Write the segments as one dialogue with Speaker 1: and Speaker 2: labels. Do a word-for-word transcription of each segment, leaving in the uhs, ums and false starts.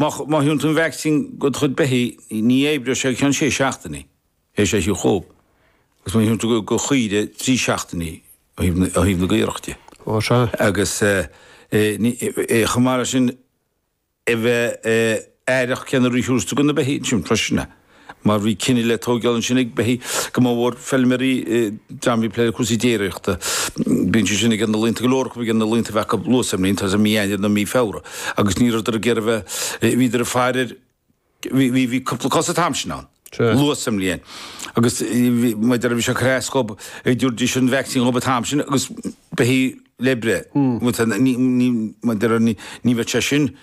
Speaker 1: Má má thugann tú an vaccine do do chuid beithígh, ní oibreoidh sé go ceann sé seachtainí, théis é a thabhairt dhób. Agus má thugann tú go chaoire, trí seachtainí ó thaobh na gcaorach de.
Speaker 2: Ó sea.
Speaker 1: Agus chomh maith leis sin, a bheith aireach cén uair a thabharfas tú do na beithígh ansin freisin é. Mar bhí cinneadh le tógáil ansin ag beithígh go mórmhór feilméaraí, dream a bhí ag plé le cúrsaí déiríochta. Bíonn siad sin ag na laonta, go leor acu ag na laonta a bheith acu luath sa mbliain, tá sé mí Eanáir nó mí Feabhra, agus ní rabhadar ag iarraidh a bheith, bhíodar ag faire ar, bhí, bhí, bhí cúpla cás an t-am sin ann, luath sa mbliain. Agus mar a déarfá bhí sé ag cur as dhób, ag dtabharfaidís an vaccine dhób an t-am sin agus beithígh le breith. Ní, ní, mar a déarfá ní, ní bheadh sé sin,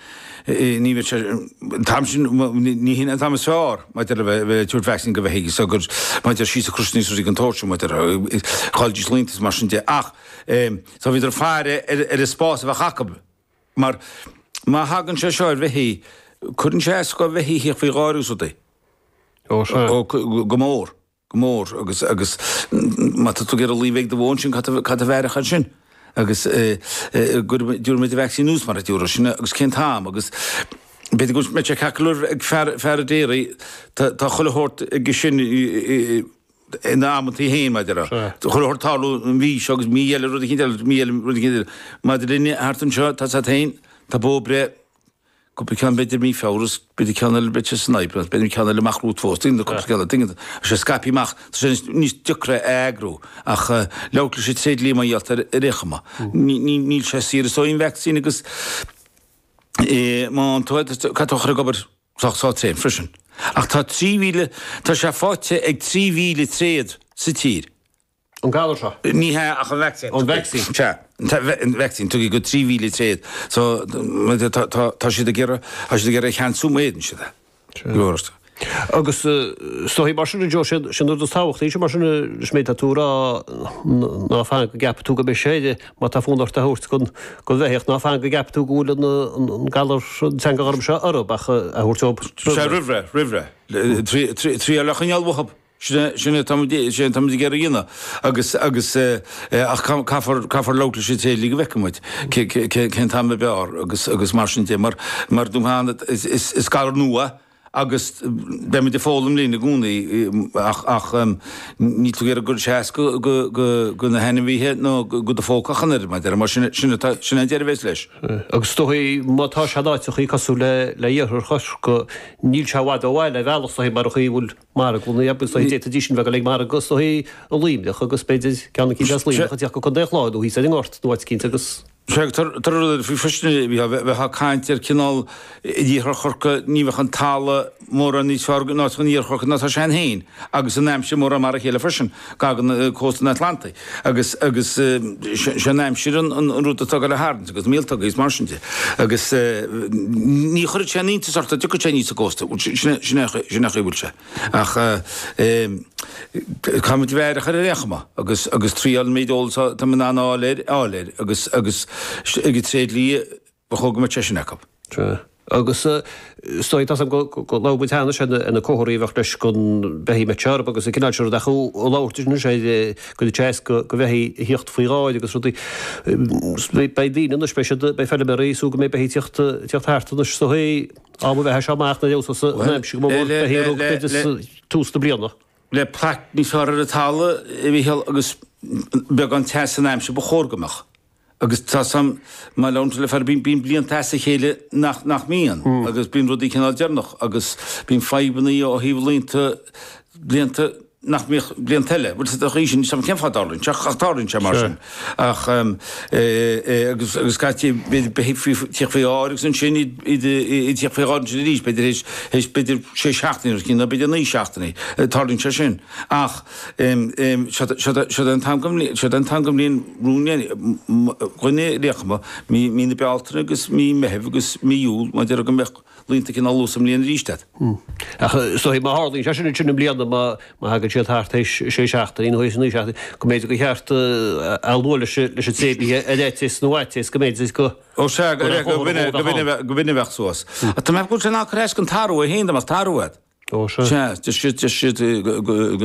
Speaker 1: ní bheadh sé, an t-am sin, ní hin an t-am is fearr maidir le bheith, bheith ag tabhairt vaccine go bheithígh so gur, maidir síos a crois níos rudaí den tsórt sin, maidir, chailldís laonta is mar sin de. Ach, so bhíodar ag faire ar, ar an spás a bheadh acu mar má thagann sé seo ar bheithígh, cuireann sé as go bheithígh a thíocht faoi dháiríre is rudaí.
Speaker 2: Ó, sea.
Speaker 1: Ó, go mór. Go mór agus agus má tá tú ag iarraidh lao a bheith ag do bhó ansin caithfidh tú a bheith aireach ansin agus dtabharfaidh muid an vacsaín anuas mar a dúradh sin agus cén t-am agus b'fhéidir go mbeidh sé ceart go leor ag fear fear an déirí tá tá chuile shórt aige sin ina amantaí féin mar a déarfá. Chuile shórt tarlú an mhí seo agus mí eile rud eicínt eile mí eile rud eicínt eile. Maidir linne thart anseo tá a fhios agat féin tá bó ag breith Cúpla ceann b'fhéidir mí Feabhra is b'fhéidir ceann eile b'fhéidir san Aibreán, b'fhéidir ceann eile amach romhat fós, tuigeann tú, cúpla ceann eile, tuigeann tú. Tá sé scaipthe amach, tá sé níos deacra a eagrú ach labhairt leis an tréidlia mar gheall ar ar aon chuma. Níl sé saor is dóigh an vacsaín agus má fhaigheann tú é caithfidh tú a chur ag obair sách sách tréan freisin. Ach tá trí mhíle, tá sé faighte ag trí mhíle tréad sa tír.
Speaker 2: An galar seo?
Speaker 1: Ní hea, ach an vacsaín.
Speaker 2: An vacsaín.
Speaker 1: Sea, an vacsaín tugtha go trí mhíle tréad. So, tá siad ag iarraidh, tá siad ag iarraidh a cheansú má fhéadann siad é.
Speaker 2: Sea. Agus is dóigh mar sin, Joe, sin an rud is tábhachtaí, sin mar sin leis an méid atá tú a rá, ná fan go gceapfaidh tú go mbeidh sé air, má tá fonn ort é a thabhairt don bheithíoch, ná fan go gceapfaidh tú go bhfuil an galar, an teanga ghorm seo orthu, ach a thabhairt dóibh roimh
Speaker 1: ré. Sea, roimh ré, roimh ré. Triail a choinneáil uathu. Sin é atáimid ag iarraidh a dhéanamh agus agus ach caithfear caithfear labhairt leis an tréidlia go bhfeicfidh muid cén t-am ab fhearr agus agus mar sin de mar mar dom féin is is galar nua agus beimid ag foghlaim linn i gcónaí ach ach níl tú ag iarraidh go gcuirfidh sé as go go go go na hainmhithe nó go do phóca ach an oiread mar mar sin sin atá sin an deireadh a bheas leis.
Speaker 2: Agus is dóigh má tá sé in áiteachaí cosúil le le iarthar Chorcaí níl sé i bhfad ó bhaile ar bhealach is dóigh mar an chaoi a bhfuil marglanna agus is dóigh d'fhéadfaidís sin bheith ag dul ag margadh is dóigh i Luimneach agus b'fhéidir ceann eicínt as Luimneach ag teacht go Contae an Chláir nó thíos ar an nGort nó áit eicínt agus.
Speaker 1: Sea, tá rud faoi freisin, bheifeá ag caint ar cineál in iarthar Chorcaí ní bheadh an talamh mórán níos fearr in áiteacha in iarthar Chorcaí ná tá sé ann féin agus an aimsir mórán mar a chéile freisin, gar don cósta an Atlantaigh agus agus sé an aimsir an rud atá ag dul a tharraingt agus míoltóga is mar sin de agus ní chuirfeadh sé aon iontas ort dá dtiocfadh sé aníos an cósta, sin é an chaoi a bhfuil sé. Ach caithfimid a bheith aireach air ar aon chuma agus agus triail an méid eolas atá in ann a fháil air, a fháil air agus agus ag an tréidlia ba chóir go mbeadh sé sin acu.
Speaker 2: Sea. Agus is dóigh, tá 's agam go go labhair muid cheana ar na comharthaí a bheadh leis don bheithígh mbeadh sé orthu agus an cineál sin rud ach ag labhairt anois ar go dtig sé as go go bheithígh a thíocht faoi dháir agus rudaí. Beidh daoine anois, beidh siad, beidh feilméaraí ag súil go mbeidh beithígh tíocht tíocht thart anois is dóigh. Am a bheith seo amach na leabhsa sa aimsir go mba mhór beithígh a rug b'fhéidir tús na bliana.
Speaker 1: Le plaic níos fearr ar an talamh, a Mhícheál, agus beagán teas san aimsir ba chóir go mbeadh. Agus tá 's a'm, má labhrann tú le fear, bíonn blianta as a chéile nach nach mbíonn agus bíonn rudaí cineál deireanach agus bíonn fadhbanna ó thaobh laonta, blianta, nach mbíodh blianta eile. Bhuel, sa chaoi sin, ní fios cén fáth a dtarlaíonn sé, ach tarlaíonn sé mar sin. Ach, agus, agus scaití, b'fhéidir beithígh faoi, tíocht faoi dháir agus ansin iad, iad, iad tíocht faoi dháir ansin arís, b'fhéidir théis, théis b'fhéidir sé seachtainí nó cinn, nó b'fhéidir naoi seachtainí, tarlaíonn sé sin. Ach, seo, seo, seo an t-am den bhliain, seo an t-am den bhliain romhainn, dhuine ar aon chuma, mí, mí na Bealtaine agus mí Meithimh agus mí Iúil, mar a déarfá go mbeadh, laonta cineál luath sa mbliain arís agat.
Speaker 2: Ach is dóigh má tharlaíonn sé sin ansin i mbliana, má thagann siad thart théis sé seachtainí nó théis naoi seachtainí, go mb'fhéidir gur cheart a lua leis an tréidlia ar fhaitíos nó fhaitíos go mb'fhéidir go
Speaker 1: Ó sea, go b'in a bheadh suas. Ach tá mé ag ceapadh go bhfuil sé in ann cur as don tarbh é féin dá mbeadh tarbh agat.
Speaker 2: Ó sea.
Speaker 1: Sea, deir siad, deir siad go.